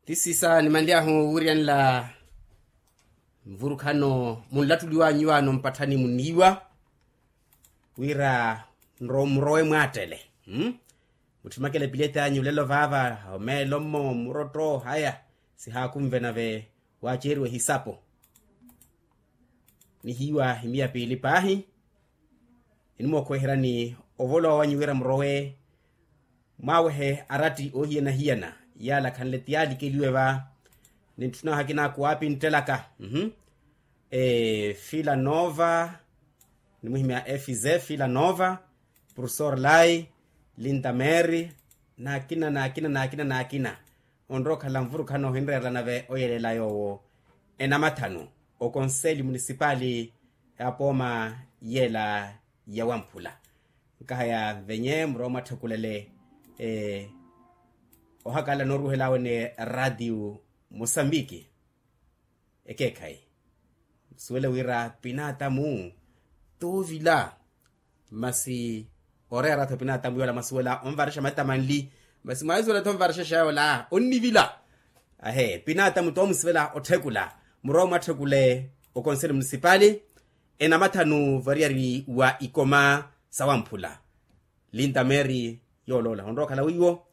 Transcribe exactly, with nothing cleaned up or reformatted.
Ti sisa nimanly'ahu owiryanela nvurukhano munlattuliw'anyu iwaano mpatthani muniiwa wira murowe mwaattele. Mutthimakele epileti anyu olelo vaava omeelo mmo murotto haya sihaakunve nave waaceeriwa ehisapo. Nihiiwa imiya piili paahi enimookhweheryani ovolowa wanyu wira murowe mwaawehe aratti oohiyana-hiyana yaala khanle ti yaalikeliwe va. Nintthuna ohakina kuwaapinttelaka fila nova nimuhimya efize fila nova purusor lai lintameri n'akina n'akina n'akina n'akina onrowa okhala nvurukhano ohinreerela nave oyelela yoowo enamathanu okonseli munisipali ya pooma yela ya wamphula. Nkahaya venye murowa mwatthukulele ohakala nooruhel'awe ni radio mosambiki ekeekhayi nsuwele wira pinaatamu toovila masi oreera-tho pinaatamu yoola mwasuwela onvarexa mattamanli masi mwaisuwela-tho onvarexa xeeya yoola onnivila. Ahe pinaatamu toomusivela otthekula murowa mwatthekule okonseli munisipali enamathanu variyari wa ikoma sawamphula lintameri yooloola onrowa okhala wiiwo